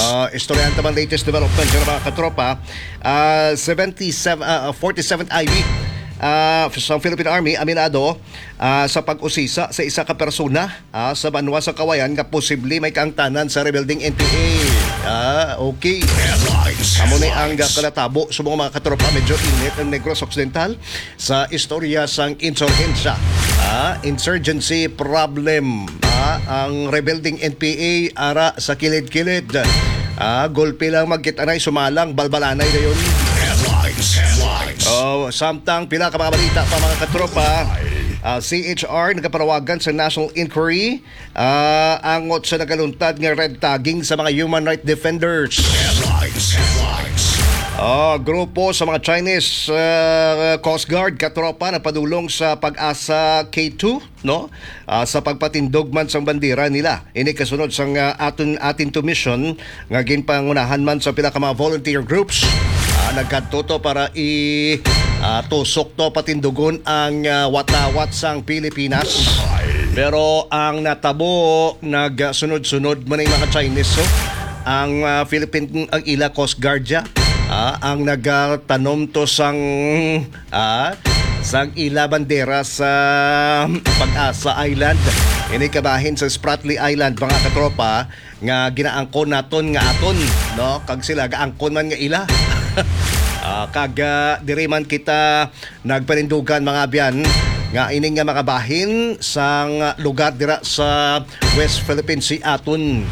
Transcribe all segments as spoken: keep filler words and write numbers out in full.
Ah, istoryahan ta man latest development, pero mga katropa, ah, seventy-seven, ah, forty-seventh I B, ah, sa Philippine Army, aminado, ah, sa pag-usisa sa isa ka persona, ah, sa banwa sa Kawayan nga posible may kaangtanan sa rebelling N P A. Ah, okay. Headlines. Amo ni ang, ah, Headlines. Kalatabo sa mga, mga katropa. Medyo init ang Negros Occidental sa istorya sang insurhensya. Ah, insurgency problem. Ah, ang rebelling N P A ara sa kilid-kilid. Ah, gulpi lang magkita na sumalang balbalanay dayon. Headlines, headlines. Oh, samtang pila ka mga balita pa, mga katropa. Ah, C H R nagapanawagan sa national inquiry, ah, angot sa nagaluntad nga red tagging sa mga human rights defenders. Headlines, headlines. Ah, grupo sa mga Chinese, ah, Coast Guard, katropa, nagpadulong sa PAGASA K two, no? Ah, sa pagpatindog man sang bandera nila. Ini kasunod sang, ah, aton, atin to mission nga ginpangunahan man sa pila ka mga volunteer groups. Ah, nagkadto to para i, ah, tusok to patindugon ang, ah, watawat sang Pilipinas. Pero ang natabo, nagsunod-sunod man ang mga Chinese, so ang, ah, Philippine, ang ila Coast Guard ya, ah, ang nagatanom to sang, ah, sang ila bandera sa PAGASA Island. Ini kabahin sa Spratly Island, mga katropa, nga ginaangkon naton nga aton, no? Kag sila gaangkon man nga ila. Ah, kag, ah, diri man kita nagpanindugan, mga abyan, nga ining nga mga bahin sang lugar dira sa West Philippine Sea aton.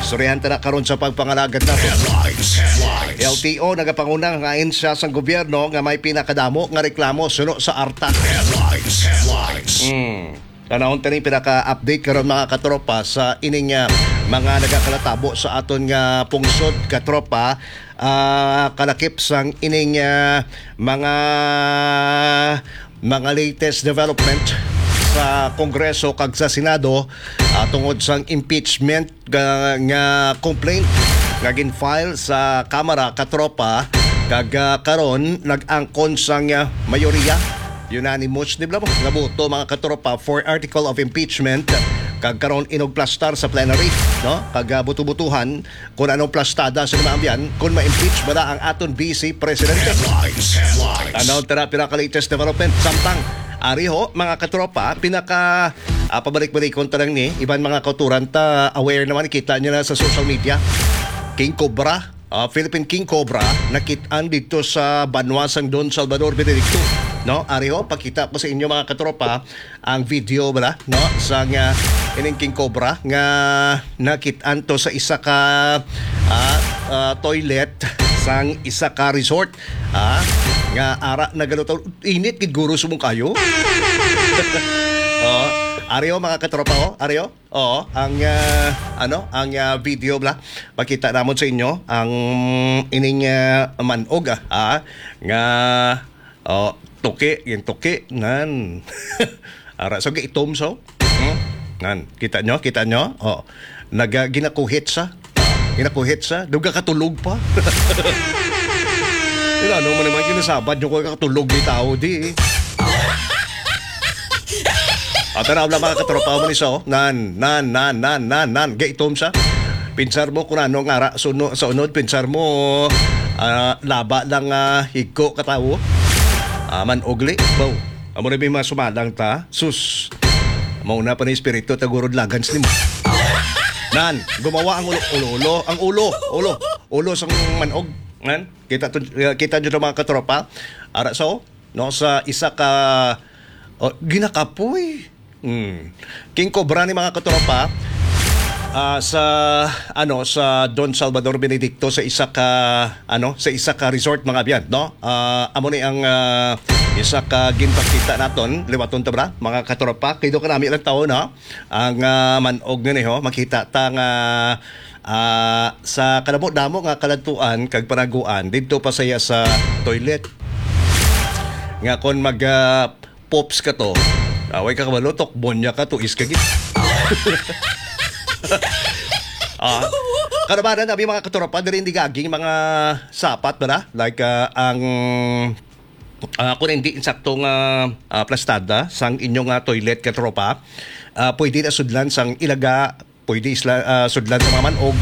Istoryahan ta na karon sa pagpangalagad nato. Headlines, headlines. L T O nagapanguna nga ahensya sang gobyerno nga may pinakadamo nga reklamo suno sa ARTA. Headlines, headlines. Mm. Tanawon ta ni pinaka-update karon, mga katropa, sa ining, ah, mga nagakalatabo sa aton nga pungsod, katropa. Ah, kalakip sang ining, ah, mga, mga latest development sa Kongreso kag sa Senado, ah, tungod sang impeachment nga, nga complaint nga gin-file sa Kamara, katropa, kag, ah, karon nag-angkon sang, ah, mayoriya, unanimous, di ba, nga boto, mga katropa, for article of impeachment, kag karon inugplastar sa plenary, no? Kag, ah, buto-butuhan kung anong plastada sa mga abyan, kung ma-impeach ba na ang aton Vice Presidente. Headlines, headlines. Tanaw tara, pinaka-latest development. Samtang, ari ho, mga katropa, pinaka, ah, pabalik-balikon ta lang ni, iban mga kauturan ta, aware naman, kita niyo na sa social media. King Cobra, ah, Philippine King Cobra, nakit-an dito sa banwa sang Don Salvador Benedicto. No, ari ho, pakita ko sa inyo, mga katropa, ang video bala, no, sang, ah, ining King Cobra nga nakit-an to sa isa ka, ah, ah, toilet sang isa ka resort, ah, nga ara nagalutaw. Init gid guro subong kayo. Oh, ari ho, mga katropa, oh, ari ho. Oo, ang, ah, ano, ang, ah, video bala. Pakita namon sa inyo ang ining, ah, manog, ah, ah, nga, oh, tuki, yung tuki, nan. Ara, so, itom, so. Hmm? Nan, kita nyo, kita nyo? Oh, naga, ginakuhit sa. Ginakuhit sa. Duga katulog pa. Ila, ano mo naman, kinasabad nyo ko katulog ni tao, di eh. Ah, tanaw lang, mga katropa mo ni so. Nan, nan, nan, nan, nan, nan. Gaitom sa. Pinsar mo kung ano nga ra, suno, sa unod, pinsar mo, ah, laba lang, ah, higko ka tawo. Ah, man ugli. Baw. Amo na may mga sumalang ta. Sus. Mauna pa na espiritu, tagurod lagans nimo. Nan, gumawa ang ulo, ulo, ulo, ang ulo, ulo, ulo sang manog. Nan, kita to, kita nyo to, mga katropa. Ara, so, no, sa isa ka, oh, ginakapoy. Hmm. King Cobra ni, mga katropa, ah, sa, ano, sa Don Salvador Benedicto, sa isa ka, ano, sa isa ka resort, mga abyan, no? Ah, amo ni ang, ah, isa ka ginpakita naton, liwaton ta bala, mga katropa, kay do kanami lang tawo, no? Ang, ah, manog nga ni, ho, makita ta nga, ah, sa kadamo-damo nga kaladtuan kag panaguan, didto pa saya sa toilet. Nga kon mag, ah, pops ka to, away ka kabalo, tokbonya ka, tuis ka gid. Ah, karabanan, abi, mga katropa, diri hindi gaging mga sapat ba na? Like, ah, ang, ah, kung hindi insakto nga, ah, plastada sang inyong, ah, toilet, katropa, ah, pwede na sudlan sang ilaga, pwede isla, ah, sudlan sa mga manog,